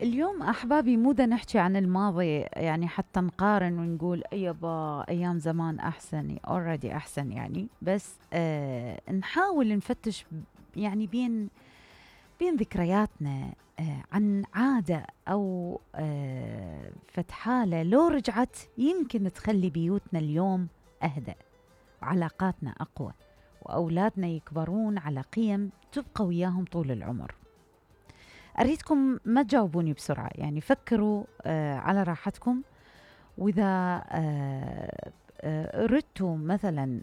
اليوم أحبابي مو دا نحكي عن الماضي، يعني حتى نقارن ونقول يابا أيام زمان أحسن، already أحسن يعني. بس نحاول نفتش يعني بين ذكرياتنا عن عادة أو فتحالة لو رجعت يمكن تخلي بيوتنا اليوم أهدأ وعلاقاتنا أقوى وأولادنا يكبرون على قيم تبقى وياهم طول العمر. أريدكم ما تجاوبوني بسرعة، يعني فكروا على راحتكم. وإذا أردتوا مثلا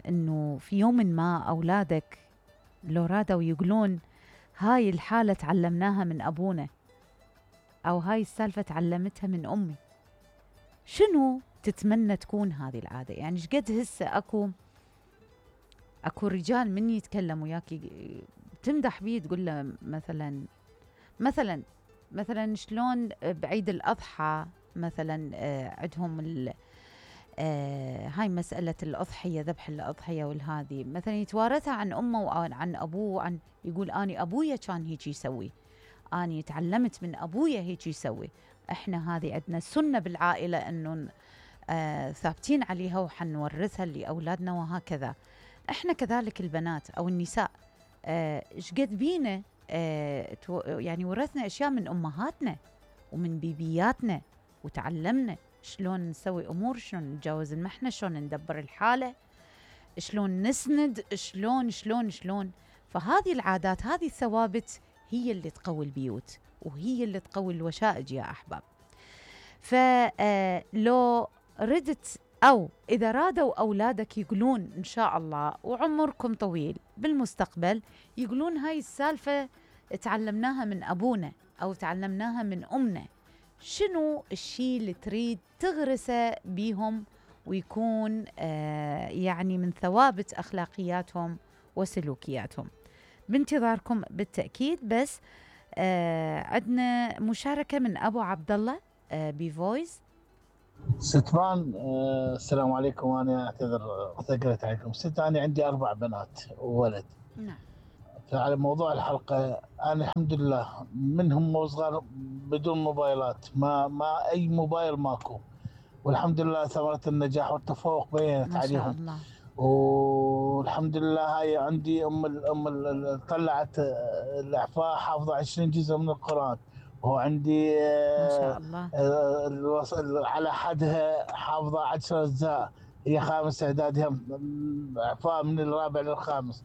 أنه في يوم ما أولادك لو رادوا يقولون هاي الحالة تعلمناها من أبونا أو هاي السالفة تعلمتها من أمي، شنو تتمنى تكون هذه العادة؟ يعني شقد هسه أكو رجال من يتكلم وياك تمدح بيه تقول له مثلا شلون بعيد الأضحى مثلا عندهم هاي مسألة الأضحية، ذبح الأضحية والهذي مثلا يتوارثها عن أمه وعن أبوه، يقول أني أبويا كان هيك يسوي، أني تعلمت من أبويا هيك يسوي. إحنا هذه عندنا سنة بالعائلة أنه ثابتين عليها وحنورثها لأولادنا وهكذا. إحنا كذلك البنات أو النساء شقد بينا يعني ورثنا أشياء من أمهاتنا ومن بيبياتنا وتعلمنا شلون نسوي أمور، شلون نتجاوز المحنة، شلون ندبر الحالة، شلون نسند، شلون. فهذه العادات، هذه الثوابت هي اللي تقوي البيوت وهي اللي تقوي الوشائج يا أحباب. فلو ردت أو إذا رادوا أولادك يقولون إن شاء الله وعمركم طويل بالمستقبل يقولون هاي السالفة تعلمناها من أبونا أو تعلمناها من أمنا، شنو الشيء اللي تريد تغرسه بيهم ويكون يعني من ثوابت أخلاقياتهم وسلوكياتهم؟ بانتظاركم بالتأكيد. بس عندنا مشاركة من أبو عبد الله بفويس. ستبان السلام عليكم. أنا أعتذر ثقلت عليكم. أنا عندي 4 بنات وولد. نعم. فعلى موضوع الحلقة، أنا الحمد لله منهم وصغار بدون موبايلات، ما أي موبايل ماكو، والحمد لله ثمرة النجاح والتفوق بينت ما شاء عليهم. الله. والحمد لله هاي عندي طلعت الإعفاء حافظة 20 جزء من القرآن، وعندي ما شاء الله. على حدها حافظة 10 أجزاء، هي 5 إعداد، إعفاء من الرابع للخامس.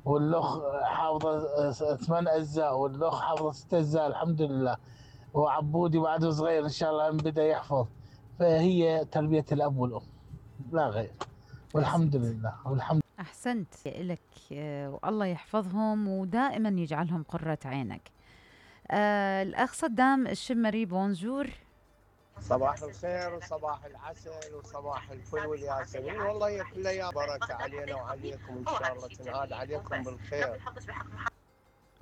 والأخ حافظة 8 أجزاء، والأخ حافظة 6 أجزاء الحمد لله. وعبودي بعده صغير إن شاء الله بدأ يحفظ. فهي تربية الأب والأم لا غير، والحمد لله والحمد. أحسنت لك والله يحفظهم ودائما يجعلهم قرة عينك. الأخ صدام الشمري بونجور. صباح الخير وصباح العسل وصباح الفل والياسمين، والله يا كل يا بركة علينا وعليكم، إن شاء الله تنعاد عليكم بالخير.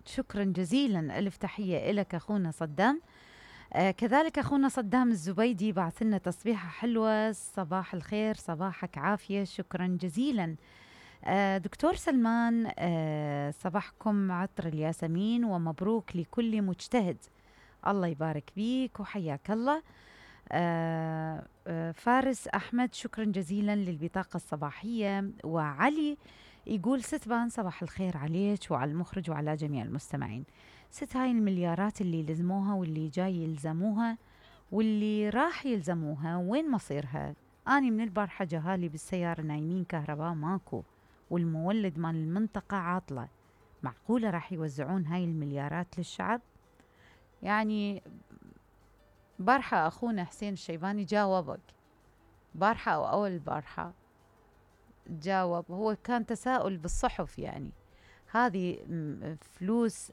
شكرا جزيلا، ألف تحية لك أخونا صدام. كذلك أخونا صدام الزبيدي بعث لنا تصبيحة حلوة، صباح الخير صباحك عافية، شكرا جزيلا. دكتور سلمان صباحكم عطر الياسمين ومبروك لكل مجتهد، الله يبارك بيك وحياك الله. فارس أحمد شكرا جزيلا للبطاقة الصباحية. وعلي يقول ستبان صباح الخير عليك وعلى المخرج وعلى جميع المستمعين. هاي المليارات اللي لزموها واللي جاي يلزموها واللي راح يلزموها وين مصيرها؟ أنا من البارحة جهالي بالسيارة نايمين، كهرباء ماكو، والمولد مال المنطقة عاطلة، معقولة راح يوزعون هاي المليارات للشعب؟ يعني بارحة أخونا حسين الشيباني جاوبك، بارحة أو أول البارحة جاوب، هو كان تساؤل بالصحف، يعني هذه فلوس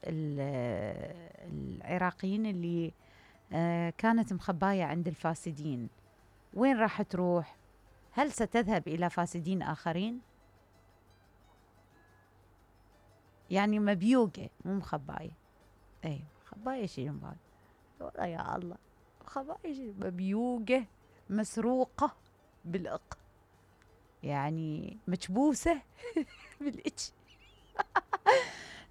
العراقيين اللي كانت مخباية عند الفاسدين وين راح تروح؟ هل ستذهب إلى فاسدين آخرين؟ يعني مبيوقة مو مخباية. أي مخباية شيء بعد والله يا الله، مخباية شيء مبيوقة مسروقة بالإق، يعني مكبوسة بالإتش.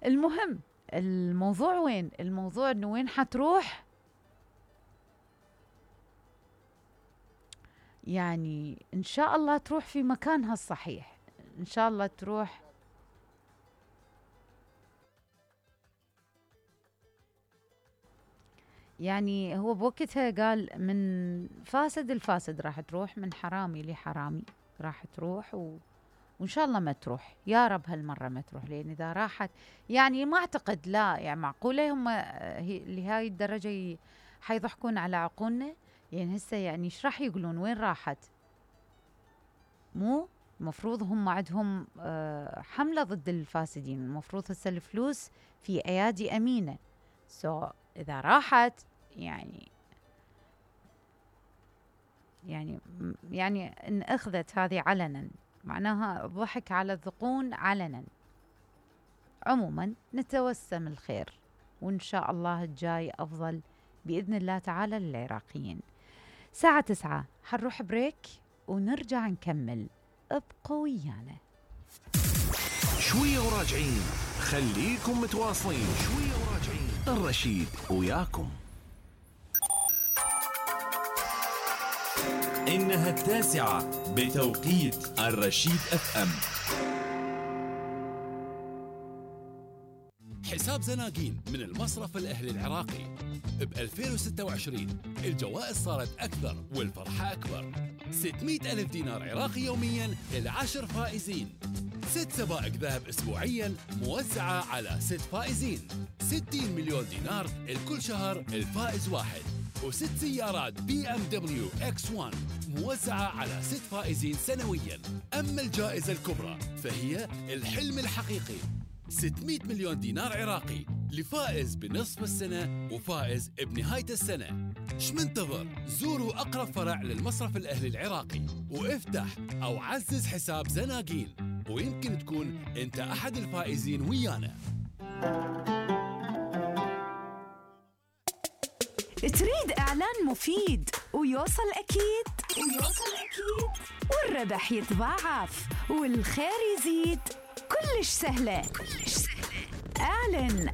المهم الموضوع وين؟ الموضوع إنه وين حتروح يعني إن شاء الله تروح في مكانها الصحيح، إن شاء الله تروح. يعني هو بوقتها قال من فاسد الفاسد راح تروح، من حرامي لحرامي راح تروح، وإن شاء الله ما تروح يا رب هالمرة ما تروح، لأن إذا راحت يعني ما أعتقد، لا يعني معقولة هم لهاي الدرجة حيضحكون على عقولنا؟ يعني هسه يعني إيش راح يقولون وين راحت؟ مو المفروض هم عندهم حملة ضد الفاسدين، المفروض هسه الفلوس في أيادي أمينة، إذا راحت يعني إن أخذت هذه علنا معناها ضحك على الذقون علنا. عموما نتوسم الخير، وإن شاء الله الجاي أفضل بإذن الله تعالى للعراقيين. ساعة 9 حنروح بريك ونرجع نكمل، ابقوا ويانا. شوية وراجعين، خليكم متواصلين. شوية وراجعين، الرشيد وياكم. إنها 9 بتوقيت الرشيد FM. حساب زناقين من المصرف الأهلي العراقي. ب 2026 الجوائز صارت أكثر والفرحة أكبر. 600,000 دينار عراقي يومياً ل10 فائزين. 6 سبائك ذهب أسبوعياً موزعة على 6 فائزين. 60 مليون دينار لكل شهر الفائز واحد. و6 سيارات BMW X1 موزعة على 6 فائزين سنوياً. أما الجائزة الكبرى فهي الحلم الحقيقي، 600 مليون دينار عراقي لفائز بنصف السنة وفائز بنهاية السنة. شمنتظر؟ زوروا أقرب فرع للمصرف الأهلي العراقي وافتح أو عزز حساب زناقين، ويمكن تكون أنت أحد الفائزين ويانا. تريد إعلان مفيد ويوصل أكيد والربح يتضاعف والخير يزيد؟ كلش سهلة. اعلن